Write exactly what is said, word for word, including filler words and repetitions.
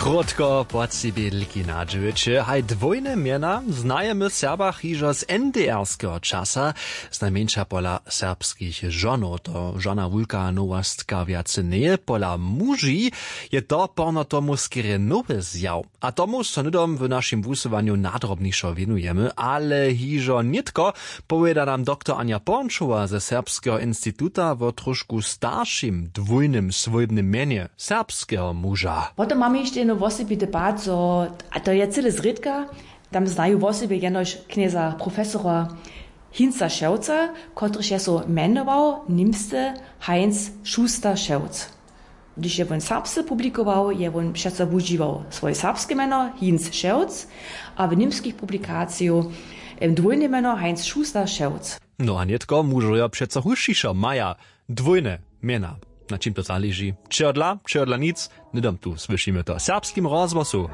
Krótko po tři bědliki na dźewjeće haj dwójne mjena znajemy w Serbach hižo z N D R-skeho časa, znajmjeńša pola serbskich žonow. To žona wulka nowostka wjace njeje. Pola muži je to porno tomu skerje nowy zjaw. A tomu so hnydom w našim wusyłanju nadrobnišo wěnujemy, ale hižo nětko powěda nam doktor Anja Pornčowa ze Serbskeho instituta wo trošku staršim dwójnym swójbnym mjenje serbskeho muža. Potom mamy hišće jedno wosebity pad, zo, a to je cyle zrědka, tam znaju wosebje jenož knjeza profesora Hinza Šewca, kotryž je so mjenował nimsce Heinz Schuster Šewc. Hdyž je wón serbsce publikował, je wón přeco wužiwał swoje serbske mjeno Hinz Šewc, a w nimskich publikacijach dwójne mjeno Heinz Schuster Šewc. No a nětko mužojo přeco husćišo maja dwójne mjena. Na čim to zaleži? Čehodla čehodla nic. Hnydom tu słyšimy to w serbskim rozhłosu.